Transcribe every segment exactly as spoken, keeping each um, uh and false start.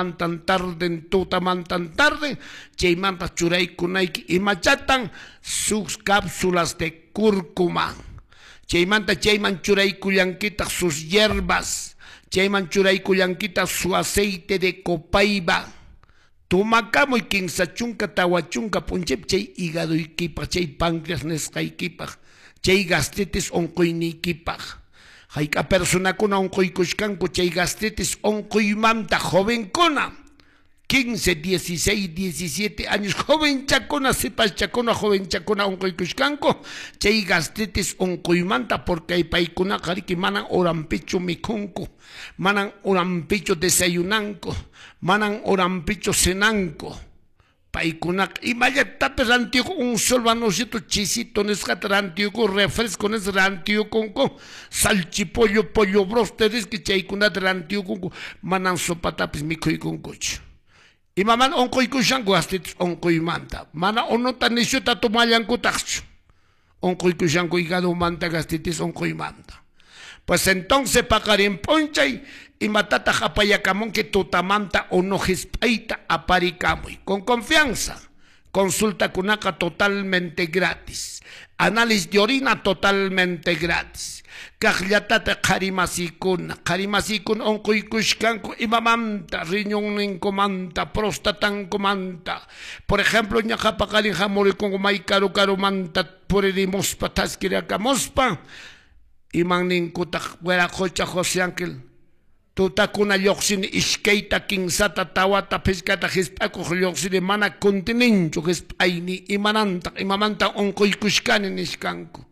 Tutamantan tarden, tutamantan tarden, chaymanta churaykunayki imachatan sus cápsulas de cúrcuma. Chaymanta chayman churaykullankitaq sus hierbas, chayman churaykullankitaq su aceite de copaiba. Tumakamuy kinsa chunka tawa chunka p'unchaypi chay hígadoykipaq, chay páncreas nisqaykipaq, chay gastritis unquyniykipaq. Hayk'a personakuna unquykushkanku chay gastritis unquymanta jovenkuna, quince, dieciséis, diecisiete años, jovenchakuna, sipaschakuna, jovenchakuna unquykushkanku chay gastritis unquymanta, porque paykunaqa riki manan horanpichu mikhunku, manan horanpichu desayunanku, manan horanpichu cenanku. Paykunaqa imallatapis rantiyuku un sol vanosito chisito nisqata rantiyuku, refresco nisqa rantiyukunku, salchipollo, pollo broster nisqa chaykunata rantiyukunku, manan sopatapis mikhuykunkuchu. Imaman unquykushanku gastritis unquymanta, mana unuta nishuta tomallankutaqchu, unquykushanku hígadomanta gastritis unquymanta. Pues entonces paqarin p'unchay imatataq apayakamunki tutamanta unu hisp'ayta aparikamuy con confianza. Consulta kunaqa totalmente gratis, análisis de orina totalmente gratis. Kaqllatata qharimasikuna, qharimasikuna unquykushkanku imamanta, riñonninkumanta, prostatankumanta. Por ejemplo, ñaqa paqarin hamurikunku may karu karumanta puririmuspa thaskirakamuspa, iman ninkutaq wiraqocha José Ángel, tutakuna lluqsini iskayta, kinsata, tawata, phichqata hisp'akuq lluqsini mana kuntininchu hisp'ayni imanantaq imamanta unquykushkani nishkanku.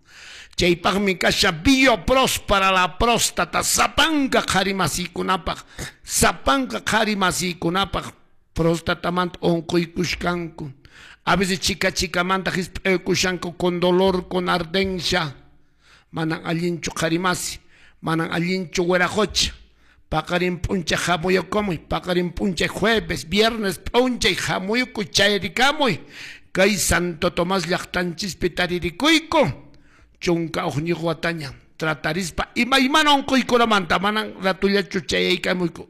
Chaypaqmi kasha Biopros para la próstata, sapanka qharimasikunapaq, sapanka qharimasikunapaq prostatamanta unquykushkanku. A veces chica chikamanta hisp'aykushanku con dolor, con ardencia. Manan allinchu qharimasi, manan allinchu wiraqocha. Paqarin p'unchay hamuyukamuy, paqarin p'unchay jueves, viernes p'unchay hamuyukuy chayrikamuy. Kay Santo Tomás llaqtanchispi taririkuyku, chunka uqñiq wataña tratarispa imaymana unquykunamanta manan ratullachu chayaykamuyku.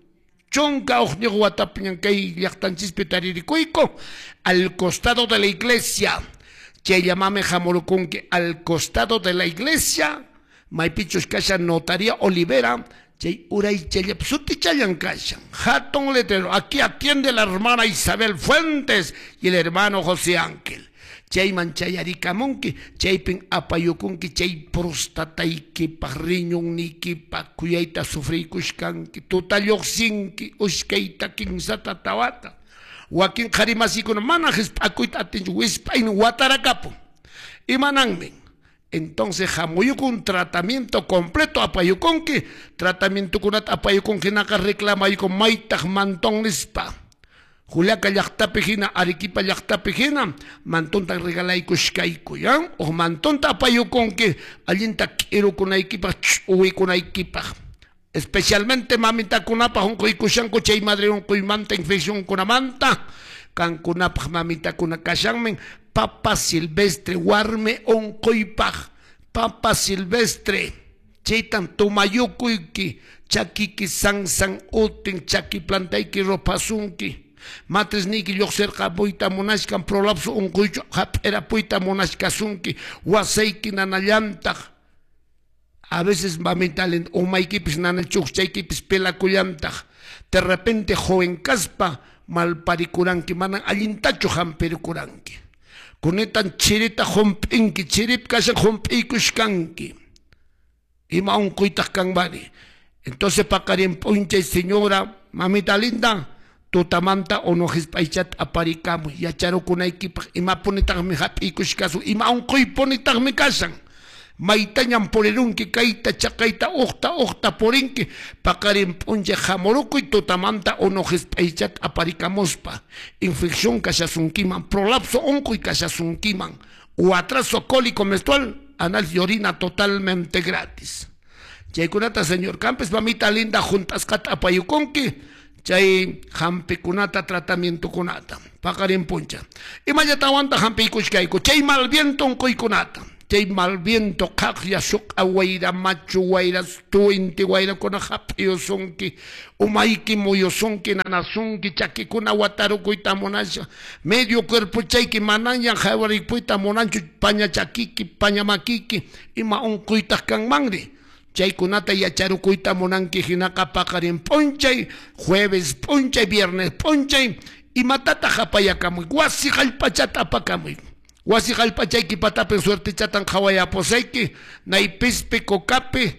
Chunka uqñiq watapiñan kay llaqtanchispi taririkuyku al costado de la iglesia. Chayllamami hamurukunki al costado de la iglesia, maypichus kashan notaría Olivera, chay uray chayllap sutichallan kashan, hatun letrero, aquí atiende la hermana Isabel Fuentes y el hermano José Ángel. Chayman chayarikamunki, chaypin apayukunki, chay prostataykipaq, riñonniykipaq, kuyayta sufriykushkanki, tuta lluqsinki, ushkayta, kinsata, tawata. Wakin qharimasikuna mana hisp'akuyta atinchu, wisp'aynin watarakapun. Imananmin. Entonces hamuyukun tratamiento completo apayukunki, tratamientokunata apayukunki hinaqa reclamayukun maytaq mantón nispa. Juliaca llaqtapi hina, Arequipa llaqtapi hina, mantonta regalaykushkayku, ya? O mantonta apayukunki, allinta k'irukunaykipaq, ch'uwikunaykipaq. Especialmente mamitakunapaq unquykushanku chay madre unquymanta, infeccionkunamanta, kankunapaq mamitakuna kashanmin, papa silvestre, warmi unquypaq, papa silvestre, chaytan tumayukuyki, chakiki sansan utin, chaki plantayki ropasunki. Matrisniyki lluqsirqapuyta munashkan, prolapso unquychu hap'irapuyta munashkasunki, wasayki nanallantaq. A veces mamita linda, umaykipis nana chukchaykipis pelakullantaq. De repente joven kaspa malparikuranki, manan allintachu hampirikuranki. Kunetan chirita hump'inki, chirip kashan hump'iykushkanki. Ima unquytaq kanmari. Entonces paqarin p'unchay señora, mamita linda, tutamanta unu hisp'aychata aparikamuy, yacharukunaykipaq imapunitaqmi hap'iykushkasun, ima unquypunitaqmi kashan. Maytañan purirunki, kayta chaqayta uqta uqta purinki, paqarin p'unchay hamurukuy tutamanta unu hisp'aychata aparikamuspa. Infección kashasunkiman, prolapso unquy kashasunkiman, o atraso cólico menstrual, análisis de orina totalmente gratis. Chaykunata señor Campes, mamita linda, juntasqata apayukunki, chay hampikunata tratamientokunata, paqarin p'unchay. Imallatawantaq hampiykushkayku, chay mal viento unquykunata. Chay mal viento qhaqlla suq'a wayra machu wayra tuinti wayrakuna hap'iyusunki, umayki muyusunki, nanasunki, chakikuna watarukuyta munasha, medio cuerpochayki manaña hawarikuyta munanchu, paña chakiki, paña makiki, ima unquytaq kanmanri. Chaykunata yacharukuyta munanki hinaqa paqarin p'unchay, jueves p'unchay, viernes p'unchay, imatataq apayakamuy, wasi hallp'achata apakamuy. Wasi hallp'achayki patapi suertichatan qhawayapusayki, naypispi cocapi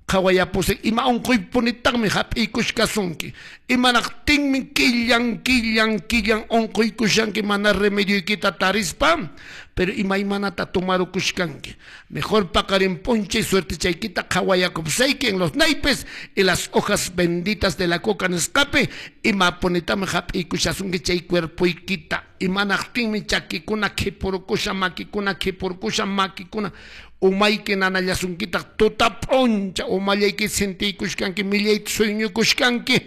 qhawayapusayki, ima unquypunitaqmi hap'iykushkasunki, imanaqtinmi killan killan killan unquykushanki mana remedioykita tarispa, pero imaymanata tomarukushkanki. Mejor paqarin p'unchay suertichaykita qhawayakupusayki en los naipes y las hojas benditas de la coca nisqapi, imapunitami hap'iykushasunki chay cuerpoykita, imanaqtinmi chakikuna khipurukusha, makikuna khipurukusha, makikuna umayki nanallasunkitaq tuta p'uncha umallayki sintiykushkanki, millayta sueñukushkanki.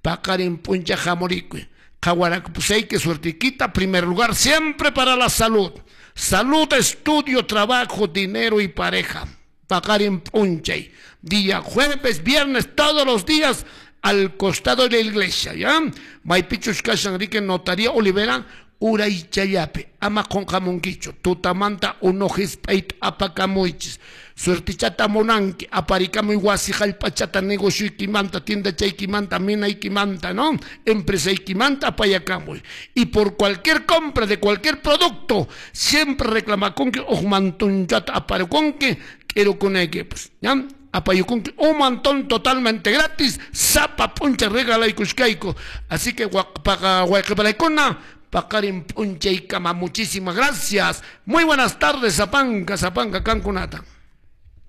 Paqarin p'unchay hamurikuy, qhawarakupusayki suertikita, primer lugar siempre para la salud. Salud, estudio, trabajo, dinero y pareja. Paqarin p'unchay, día jueves, viernes, todos los días al costado de la iglesia, ¿ya? Maypichus kashan riki notaría Olivera, uraychallapi, ama qunqamunkichu, tutamanta unu hisp'ayta apakamuychis, suertichata munanki, aparikamuy wasi hallp'achata negocioykimanta, tiendachaykimanta, minaykimanta, ¿no? Empresaykimanta apayakamuy. Y por cualquier compra de cualquier producto, siempre reclamakunki uj mantunchata aparikunki, k'irukunayki, pues, ¿ya? Apayukunki un montón totalmente gratis, sapa puncha regalaykushkayku. Así que wayqiparaykuna, paqarin p'unchaykama, muchísimas gracias. Muy buenas tardes, Zapanka, Zapanka, kankunata.